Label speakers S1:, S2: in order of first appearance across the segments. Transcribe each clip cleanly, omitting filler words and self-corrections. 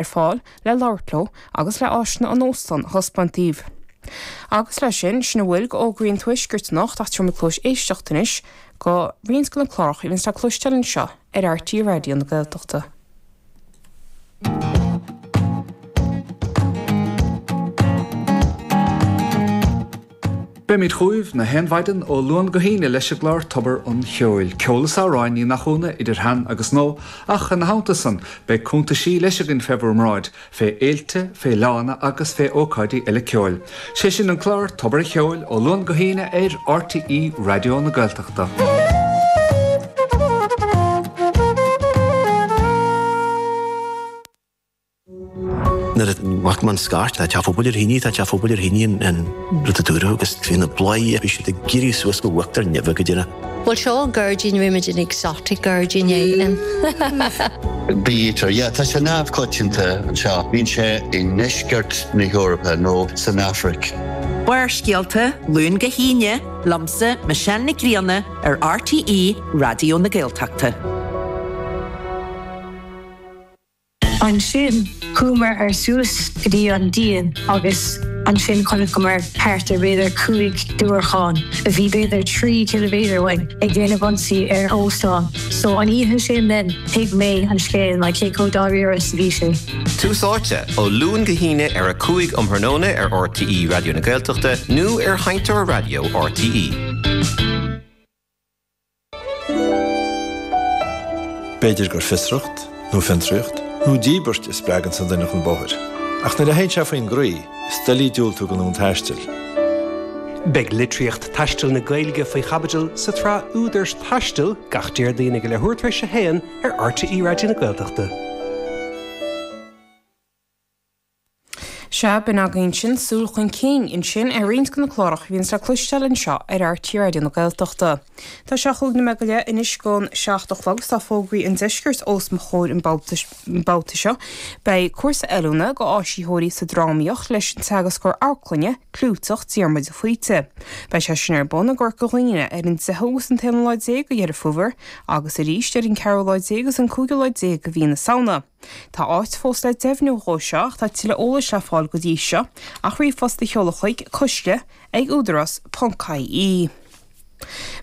S1: Ar fáil le labhairt leo agus le áiseanna an óstáin a thaispeáint daoibh. Agus leis sin, sin a bhfuil go fhógraí an Tuaiscirt anocht ach tabharfaidh muid cluas éisteachta anois go roinnt de na cláracha a bhíonns le cloisteáil anseo ar RTÉ Raidió na Gaeltachta.
S2: Beimid chugaibh na haon mhaidin ó Luan go hAoine leis an gclár Tobar an Cheoil. Ceol is amhráin, ní nach ionadh, idir shean agus nua, ach ina theannta san, beidh cuntaisí leis againn fé bhur mbráid, fé fhéilte, fé fhleánna agus fé ócáidí eile ceoil. Sé sin an clár Tobar an Cheoil ó Luan go hAoine ar RTÉ Raidió na Gaeltachta.
S3: Nuair a bhfaca mé an scairt, tá teach phobail ar thine, tá teach phobail ar thine an rud a dúradh agus bhí na bladhairí, bhí siad ag éirí suas go huachtar neimhe go deireadh.
S4: Bhuel seo an gairdín, rinne muid an exotic gairdín é.
S5: Bee-eater, yeah, tá sé neamhchoitianta anseo. Bíonn sé i ndeisceart na hEorpa nó san Afraic.
S6: Barrscéalta, Luan go hAoine, liomsa, Michelle Nic Grianna, ar RTÉ Raidió na Gaeltachta.
S7: Ansin chuamar ar suas go dtí an díon agus ansin chonaiceamar thart ar b'fhéidir 5 diúracán a bhí b'fhéidir 3 ciliméadar uainn ag déanamh ionsaí ar óstán. So an oíche sin then thuig mé an scéal like cé chomh dáiríre is a bhí sé.
S8: Tús Áite, ó Luan go hAoine ar 5 um thráthnóna ar RTÉ Raidió na Gaeltachta nó ar Sheinnteoir Raidió RTÉ.
S9: B'fhéidir gur fiosracht, nó fiontraíocht, nó díbirt a spreaganns an duine chun bóthair. Ach nuair a théann sé faoin gcroí, is doiligh diúltú don fhonn taistil.
S10: Beidh litríocht taistil na Gaeilge faoi chaibidil sa tsraith Údair Taistil gach Déardaoin ag a leathuair tar éis a haon ar RTÉ Raidió na Gaeltachta.
S1: Sea, b'in againn ansin súil chun cinn ansin ar roinnt de na cláracha a bhíonns le cloisteáil anseo ar RTÉ Raidió na Gaeltachta. Tá sé chúig nóiméad go leith anois don seacht a chlog agus tá fógraí an deiscirt os mo chomhair an babhta seo. Beidh cúrsa oiliúna go áisitheoirí sa drámaíocht leis an teagascóir amharclainne clúiteach Diarmuid de Faoite. Beidh sé sin ar bun i gCorca Dhuibhne ar an deichiú agus an t-aonú lá déag de Dheireadh Fómhair agus arís ar an ceathrú lá déag agus an cúigiú lá déag de mhí na Samhna. Tá áit fós le deimhniú dhó seo ach tá tuilleadh eolais le fáil go dtí seo ach ríomhphost a sheoladh chuig coiste ag údarás ponc ie.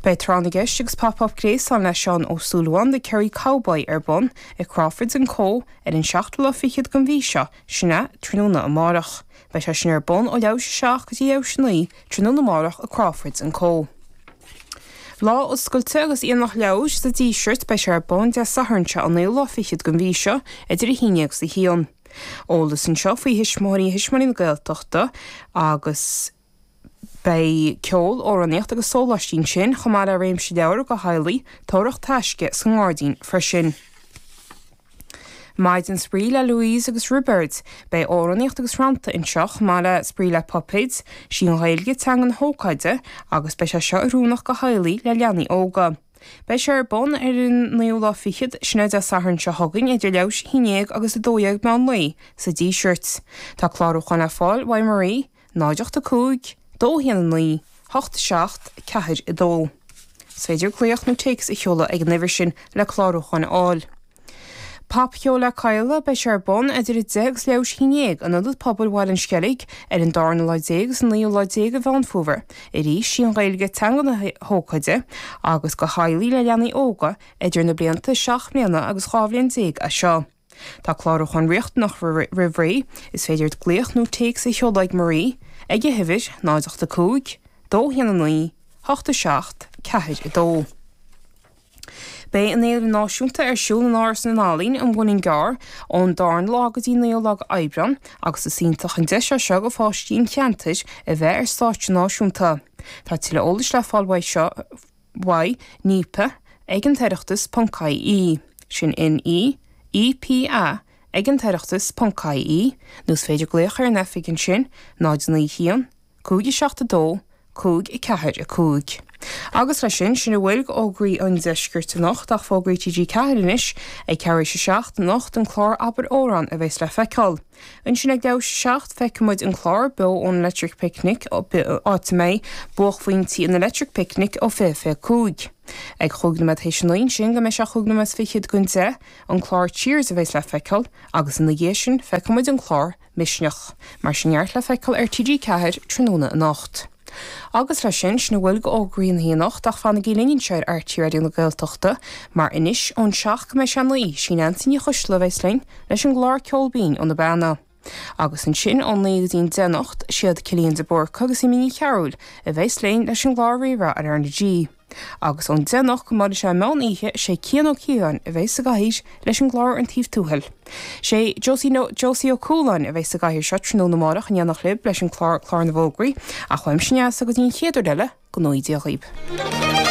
S1: Beidh Tráth na gCeist agus Pop Up Gréasáin le Seán Ó Súilleabháin, The Kerry Cowboy ar bun i Crawfords and Co ar an seachtú lá fichead den mhí seo, sin é, tráthnóna amárach. Beidh sé sin ar bun ó leathuair théis a 7 go dtí leathuair théis a 9 tráthnóna amárach i Crawfords and Co. Lá Oscailte agus Aonach Leabhar sa Díseart, beidh sé ar bun Dé Sathairn seo an naoú lá fichead den mhí seo idir 11 agus 1. Eolas anseo faoi Thuismitheoirí Thuismitheoirí na Gaeltachta agus beidh ceol, amhránaíocht agus sóláistí ansin chomh maith le réimse leabhar do theaghlaigh, tóraíocht taisce sa ngairdín freisin. Maidin Spraoi le Louise agus Roibeard. Beidh amhránaíocht agus rannta anseo chomh maith le spraoi le puipéid. Sí an Ghaeilge teanga na hócáide agus beidh sé seo oiriúnach go theaghlaigh le leanaí óga. Beidh sé ar bun ar an naoú lá fichead, sin é Dé Sathairn seo chugainn idir leathuair théis a haon déag agus 12 meán lae sa Díseart. Tá clárúchán le fáil uaidh Marie. 0 8 5 2 1 9 8 7 4 2. Is féidir glaoch nó téacs a sheoladh ag an uimhir sin le clárúchán a fháil. Popcheol le Cadhla, beidh sé ar bun idir 10 agus leathuair théis a haon déag in Ionad Pobail Bhaile an Sceilg ar an darna lá déag agus an naoú lá déag de Mheán Fómhair. Arís, sí an Ghaeilge teanga na hócáide agus go theaghlaigh le leanaí óga idir na blianta 7 mbliana agus 12 bhliain é seo. Tá clárúchán riachtanach roimh ré, is féidir glaoch nó téacs a sheoladh ag Marie ag an uimhir, 0 8 5 2 1 9 8 7 4 2. Beidh an Fhéile Náisiúnta ar siúl in Áras na nEalaíon, an Muileann gCearr, ón darna lá go dtí an naoú lá d'Aibreán agus is iontach an deis é seo go pháistí an cheantair a bheith ar stáitse náisiúnta. Tá tuilleadh eolais le fáil uaidh seo. uaidh NEPA ag an tOireachtas ponc ie, sin N-E, E-P-A ag an tOireachtas ponc ie, nó is féidir glaoch ar an oifig ansin, 0 9 1, 5 7 2, 5 4 5. Agus leis sin, sin a bhfuil d'fhógraí an deiscirt anocht ach fógraí TG4 anois ag ceathrú théis a 7 anocht an clár Abair Amhrán a bheas le feiceáil. Ansin ag leathuair théis a 7 feicfidh muid an clár beo ón Electric Picnic, áit a mbeidh buaicphointí an Electric Picnic ó 20:25. Ag chúig nóiméad théis a 9 ansin go mbeidh sé chúig nóiméad is fichead don 10, an clár Cheers a bheas le feiceáil agus ina dhiaidh sin feicfidh muid an clár Misneach. Mar sin neart le feiceáil ar TG4 tráthnóna anocht. Agus leis sin, sin a bhfuil d'fhógraí an lae anocht ach fanaigí linn anseo ar RTÉ Raidió na Gaeltachta mar anois ón 7 go mbeidh sé 9, sí Neansaí Ní Choisdealbha a bheas linn leis an gclár Ceol Binn ó na Beanna. Agus ansin ón 9 go dtí an 10 anocht, siad Cillian de Búrca agus Amy Ní Chearúil a bheas linn leis an gclár Rí-Rá ar R na G. Agus ón 10 anocht go mbuailfidh sé an meán oíche, sé Cian Ó Ciaráin a bheas sa gcathaoir leis an gclár An Taobh Tuathail. Sé Josie Josie Ó Cualáin a bheas sa gcathaoir seo tráthnóna amárach in éineacht libh leis an clár Clár na bhFógraí, ach uaimse Neasa go dtí an chéad uair eile, go ngnóthaí Dia dhaoib.